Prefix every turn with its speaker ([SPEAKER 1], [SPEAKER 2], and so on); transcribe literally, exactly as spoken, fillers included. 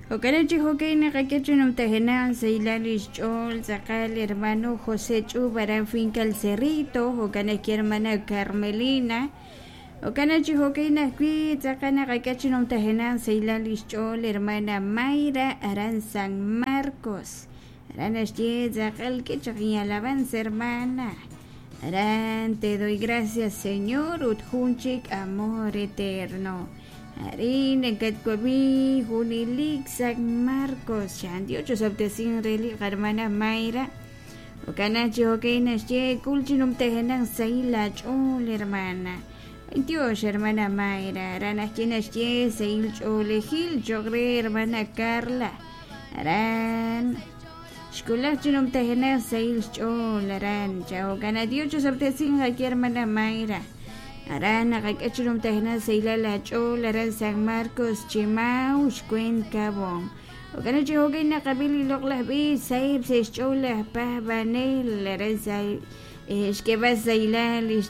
[SPEAKER 1] Jo'kan chi jo'kan naqak'e chi numtajenaq sahilal lix ch'ool tz'aqal hermano José Ch'ub aran finca El Cerrito, jo'kan ajwi' hermana Carmelina. Jo'kan chi jo'kan ajwi' tz'aqal naqak'e chi numtajenaq sahilal lix ch'ool hermana Mayra aran San Marcos. Aran naxye tz'aqal k'e chaq alabanza, hermana. Aran "Te doy gracias, Señor" ut jun chik "Amor eterno". Arin nakatwab'i junelik San Marcos. Chan Dios chosab'tesin re li hermana Mayra. Jo'kan chi jo'kan naxye k'ul chi numtajenaq sahil aach'ool, hermana. Dios, hermana Mayra. Aran ajwi' naxye sahil ch'oolejil cho'q re hermana Carla. Aran xkulaj chi numtajenaq sahil xch'ool aran. Jo'kan Dios chosab'tesin ajwi' hermana Mayra. Aran naqak'e chi numtajenaq sahilal aach'ool aran San Marcos Chimau xkwen Cabón. Jo'kan chi jo'kan naqab'i li loq'laj b'iich sahib' sa' xch'ool laj paab'anel aran sa' xk'eeb'al sahilal.